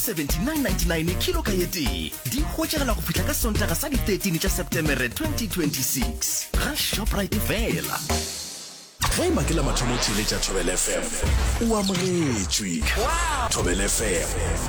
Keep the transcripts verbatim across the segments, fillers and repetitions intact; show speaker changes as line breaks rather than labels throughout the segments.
Seventy-nine ninety-nine kilo ka ye tee. Di hwetšagala go fihla ka Sontaga sa di thirteen tša Setemere twenty twenty-six ga Shoprite fela.
Ge e ba ke la mathomo o theeletša Thobela F M, o amogetšwe. Thobela F M,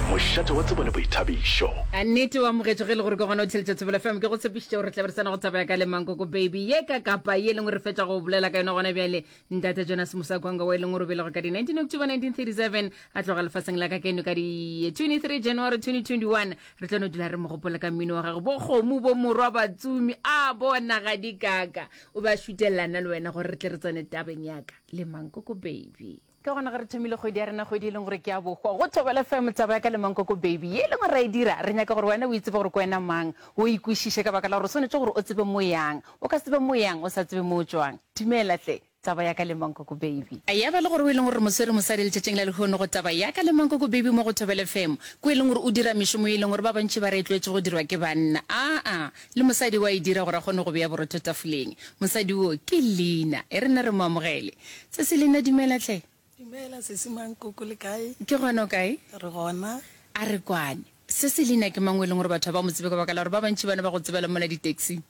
mošate wa tsebo le boithabišo.
A nnete o amogetšwe ge e le gore ke gona o theeletša Thobela F M. Ke go tshepišitše gore re tla be re tsena go taba ya ka le Mankoko Baby ye ka kapa ye e leng gore re fetša go bolela ka yona gona bjale. Ntate Jonas Musakwanga wa e leng gore o belegwe ka di nineteen October nineteen thirty-seven a tloga lefaseng la ka keno ka di twenty-three January twenty twenty-one. Re tlo no dula re mo gopola ka mmino wa gagwe, bo kgomo, bo morwa, batsumi, a bona ga di kaka. O be a šutelelana le wena gore re tle re tsene tabeng ya ka le Mankoko Baby. Ka gona ge re thomile kgwedi ya rena, kgwedi e leng gore ke ya bohwa, go Thobela F M, taba ya ka le Mankoko Baby ye e leng gore ra e dira, re nyaka gore wena o itsebe gore ke wena mang, o ikwešiše ka baka la gore o swanetše gore o tsebe mo yang. O ka se tsebe mo yang o sa tsebe mo o tšwang. Dumela hle, taba ya ka le Mankoko Baby. Ya ba le gore o e leng gore re mo swere mosadi letšatšing la lehono go taba ya ka le Mankoko Baby mo go Thobela F M, ko e leng gore o dira mešomo ye e leng gore ba bantši ba re e tlwaetše go dirwa ke banna. Aa, le mosadi wa e dira gore a kgone go bea borotho tafoleng. Mosadi wo ke Lina. E re nna re mo amogele. Sesi Lina, dumela hle.
Dumela sesi Mankoko, le kae?
Ke gona, o kae?
Re gona.
A re kwane. Sesi Lina ke mang o e leng gore batho ga ba mo tsebe ka baka la gore ba bantši bana ba go tsebela mola di-taxi?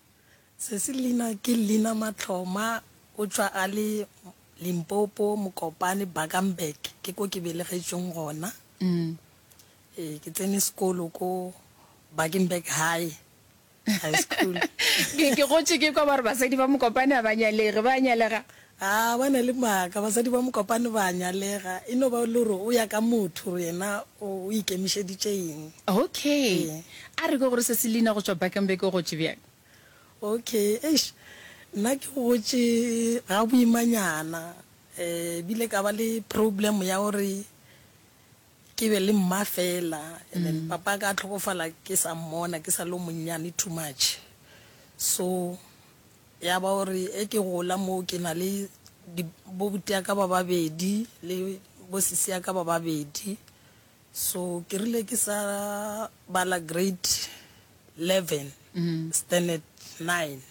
Sesi Lina ke Lina Matlhoma, o tšwa a le Limpopo, Mokopane, Bakenberg, ke ko ke belegetšweng gona. Ee, ke tsene sekolo ko Bakenberg High, High School.
Ke, ke gotše ke kwa ba re basadi ba Mokopane ga ba nyalege, ba nyalega?
A ba na le maaka, basadi ba Mokopane ba nyalega, e no ba le gore o ya ka motho gore yena o, o ikemišeditše eng.
Okay.
Ee.
A re kwe gore sesi Lina go tšwa Bakenberg o gotše bjang?
Okay, eish, nna ke gotše ga boimanyana, eh, bile ka ba le problem ya gore ke be le mma fela, and then papa ka tlhokofala ke sa mmona, ke sa le o monnyane too much. So ya ba gore e ke gola mo ke na le di, bo buti ya ka ba babedi le bo sisi ya ka ba babedi. So ke rile ke sa bala grade eleven, standard nine.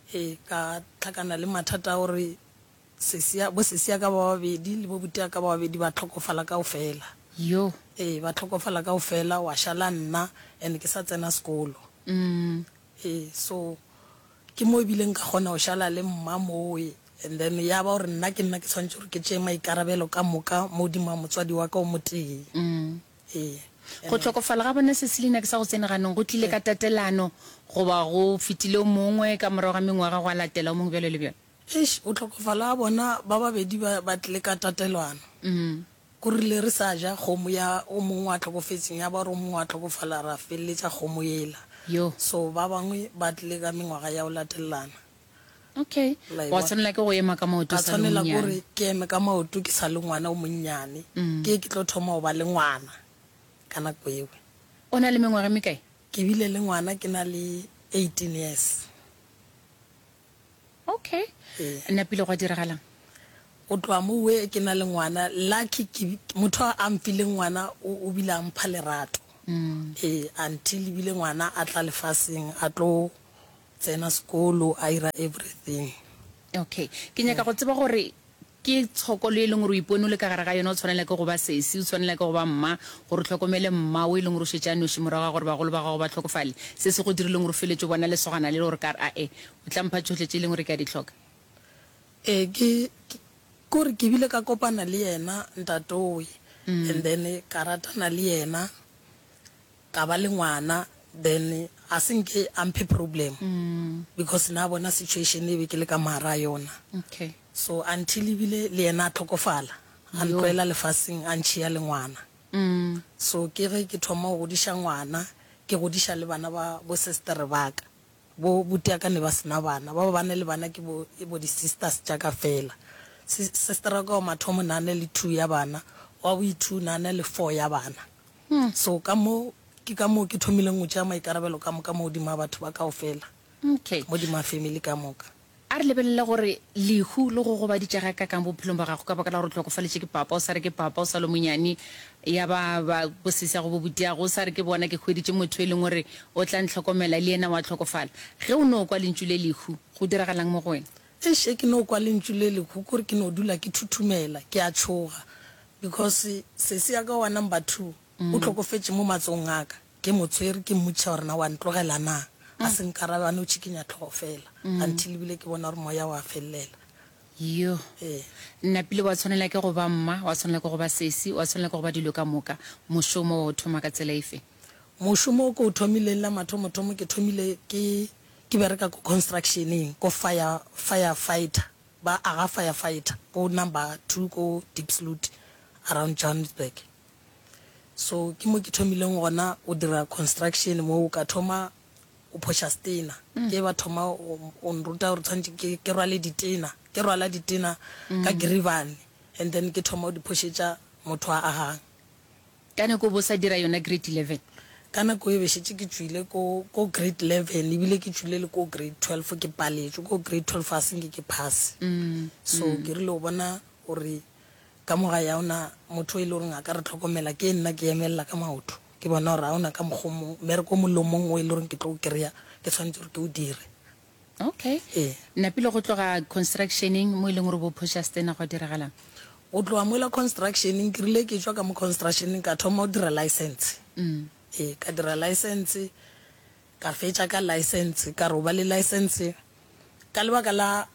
E ka tlhakana le mathata a gore sesi ya, bo sesi ya ka ba babedi le bo buti ya ka ba babedi ba tlhokofala kaofela.
Yo.
E ba tlhokofala kaofela, wa šala nna and ke sa tsena sekolo. E so ke mo ebileng ka kgona go šala le mma mowe, and then ya ba gore nna ke nna ke tshwanetse gore ke tšee maikarabelo ka moka mo godimo ga motswadi wa ka o motee. E.
Go hlokofala ga bona sesi Lina ke sa go tsene ganong, go tlile ka tatelano goba go fetile o mongwe ka morago ga mengwaga gwa latela o mongwe bjalo le bjalo?
Eish, go hlokofala ga bona ba babedi ba, ba tlile ka tatelano. Go rile re sa ja kgomo ya o mongwe wa hlokofetšeng, ya ba gore o mongwe wa hlokofala, ra feleletša kgomo yela.
Yo.
So ba bangwe ba tlile ka mengwaga ya go latelelana.
Okay.
La e
Wa
bona?
tshwanela ke go ema ka maoto
Ka
o sa le
tshwanela
monnyane.
kore ke eme ka maoto ke sa le ngwana o monnyane. Ke ke tlo thoma go ba le ngwana ka nako eo.
O na le mengwaga e mekae?
Ke bile le ngwana ke na le eighteen years.
Okay.
Ee.
Napile gwa diragalang?
Go tloga mowe ke na le ngwana, lucky ke motho a mfileng ngwana o, o bile a mpha lerato. Ee, until ebile ngwana a tla lefaseng a tlo tsena sekolo a ira everything.
Okay. Ke nyaka go tseba gore ke tshokolo e leng gore o ipone o le ka gare ga yona, o tshwanela ke go ba sesi, o tshwanela ke go ba mma, gore o hlokomele mma o e leng gore o šetše a noši morago ga gore bagolo ba gago ba hlokofale. Se se go dirileng gore o feletše o bona lesogana le le gore ka re, ae, o tla mpha tšohle tše e leng gore ke a di hloka.
Ee, ke, ke, kore ke bile ka kopana le yena ntatowe, and then ka ratana le yena, ka ba le ngwana, then a se nke a mphe problem, because na bona situation e be ke le ka mogare a yona.
Okay.
So until ebile le yena a tlhokofala, a
Yo.
ntlohela lefaseng a ntšhia le ngwana. So ke ge ke thoma go godiša ngwana, ke godiša le bana ba bo sister ba ka. Bo buti ya ka ne ba sena bana, ba ba ba ne le bana ke bo, e bo di sisters tša ka fela. Si-, sister wa ka wa mathomo na ne le two ya bana, wa bo two na ne le four ya bana. So ka mo, ke ka moo ke thomileng go tšea maikarabelo ka moka mo godimo ga batho ba kaofela.
Okay.
Mo godimo ga family ka moka.
A re lebelele gore lehu le go gobaditše gakaakang bophelong bja gago ka baka la gore o hlokofaletše ke papa, o sa re ke papa o sa le monyane, ya ba ba bosesiago bo butiago, o sa re ke bona ke hweditše motho e leng gore o tla ntlhokomela, le yena wa hlokofala. Ge o no kwa lentšu le lehu, go diragalang mo go wena?
Eish, ge ke no kwa lentšu le lehu, kore ke no dula ke thuthumela, ke a tšhoga because sesi ya ka wa number two O hlokofetše mo matsogong a ka. Ke mo tshwere ke mmotšiša gore na wa ntlogela na. A se nkarabe a no tšhikinya hlogo fela. Until ebile ke bona gore moya wa fellela.
Yo.
Ee.
Napile wa tshwanela ke go ba mma, wa tshwanela ke go ba sesi, wa tshwanela ke go ba dilo ka moka. Mošomo wa o thoma ka tsela efe?
Mošomo o ke o thomileng la mathomothomo ke thomile ke ke bereka ko constructioneng ko fire fire fighter ba aga fire fighter ko number two ko Diepsloot around Johannesburg. So ke mo ke thomileng gona o dira construction moo ka thoma o phoša setena. Ke ba thoma o o nruta gore tshwanetse ke ke rwale ditena ke rwala ditena ka giribane and then ke thoma o di phošetša motho a agang.
Ka nako o bo sa dira yona grade eleven?
Ka nako e be šetše ke tšwile ko ko grade eleven ebile ke tšwile le ko grade twelve ke paletšwe ko grade twelve a se nke ke pass. So ke rile go bona gore ka mo gae ga ona motho e le goreng a ka re tlhokomela ke nna ke emelela ka maoto. Ke bona gore ga ona ka mokgwa o mongwe mmereko o mongwe le o mongwe o e le goreng ke tlo o kry-a ke tshwanetse gore ke o dire.
Okay.
Ee.
Napile go tloga constructioneng mo e leng gore bo phoša stena gwa diragalang?
Go tloga mola constructioneng ke rile ke tšwa ka mo constructioneng ka thoma go dira license. Ee, ka dira license ka fetša ka license ka re o ba le license ka lebaka la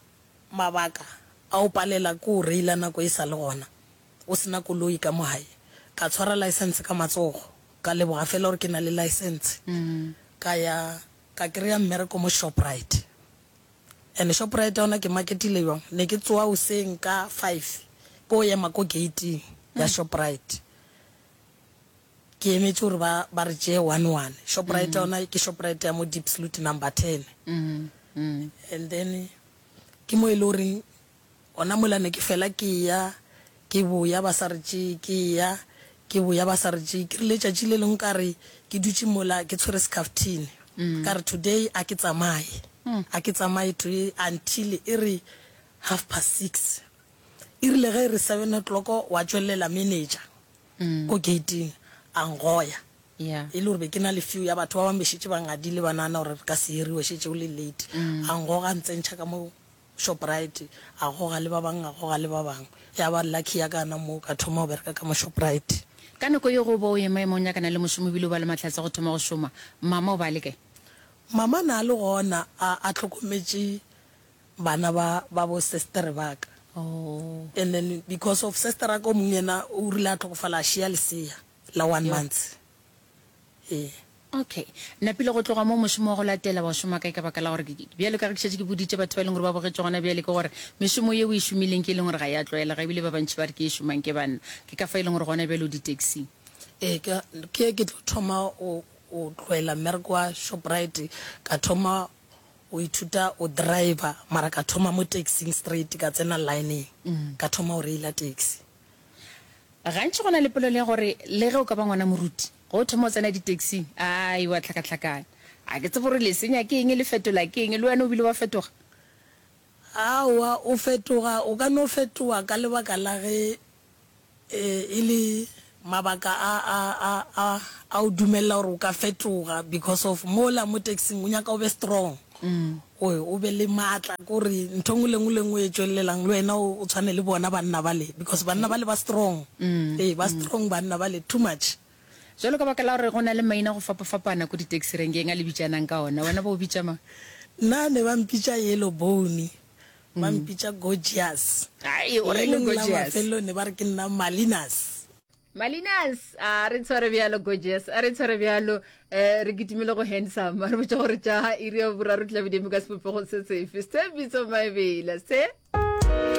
mabaka a o palela ke o reila nako e sa le gona o sena koloi ka mo gae ka tshwara license ka matsogo ka leboga fela gore ke na le license ka ya ka kry-a mmereko mo Shoprite and Shoprite yona ke marketile bjang ne ke tsoga hoseng ka five ko ema ko gate ya Shoprite ke emetše gore ba ba re tšee one one Shoprite yona ke Shoprite ya mo Diepsloot number ten and then ke mo e le goreng gona mola ne ke fela ke ya ke boya ba sa re tšee ke ya ke boya ba sa re tšee ke rile tšatši le lengwe ka re ke dutše mola ke tshwere scaftine ka re today a ke tsamaye a ke tsamaye today until e re half past six e rile ge e re seven o'clock wa tšwelela manager ko gating a ngoya
Yeah.
e le gore be ke na le few ya batho ba bangwe be šetše ba ngadile ba nagana gore re ka se hiriwe šetše o le late a ngoga a ntsentšha ka mo Shoprite a goga le ba bangwe a goga le ba bangwe ya ba lucky ya kana mo ka thoma go bereka ka mo Shoprite.
Ka nako ye go bo o ema ema o nyakana le mošomo ebile o ba le mahlatse go thoma go šoma mama o ba le kae?
Mama na le gona a a tlhokometše bana ba ba bo sister ba ka.
Oh.
And then because of sister ka o mongwe yena o rile a tlhokofala a šia lesea la one month. Ee.
Okay. Napile go tloga mo mošomo wa go latela wa šoma kae ka baka la gore bjalo ka ge ke šetše ke boditše batho ba e leng gore ba bogetše gona bjale ke gore mešomo ye o e šomileng ke e leng gore ga ya tlwaelega ebile ba bantši ba re ke e šomang ke banna. Ke ka fa e leng gore gona bjale o di-taxing.
Ee, ke ke ke tlo thoma o o tlohela mmereko wa Shoprite ka thoma o ithuta o driver mara ka thoma mo taxing straight ka tsena lineng ka thoma o reila taxi.
Gantši go na le polelo ya gore le ge o ka ba ngwana moruti go o thoma o tsena di-taxing ai wa tlhakatlhakana. A ke tsebe gore le senya ke eng le fetola ke eng le wena o bile wa fetoga?
Aowa o fetoga o ka no fetoga ka lebaka la ge e le mabaka a a a a a o dumella gore o ka fetoga because of mola mo taxing o nyaka o be strong o o be le maatla kore ntho engwe le engwe le engwe e tšwelelang le wena o tshwane le bona banna bale because banna bale ba strong ee ba strong banna bale too much.
Jwalo ka baka la gore go na le maina go fapafapana ko di-taxi renkeng a le bitšanang ka ona wena ba o bitša mang?
Nna ne ba mpitša Yellow Bone ba mpitša Gorgeous.
Ai o reng
Le lengwe la
Gorgeous?
mafelelo ne ba re ke nna Malinas.
Malinas a re tshware bjalo Gorgeous a re tshware bjalo eh re kitimile go handsome a re botša gore tša iri ya boraro tla be di eme ka sebopego se sefe se bitso mabela se.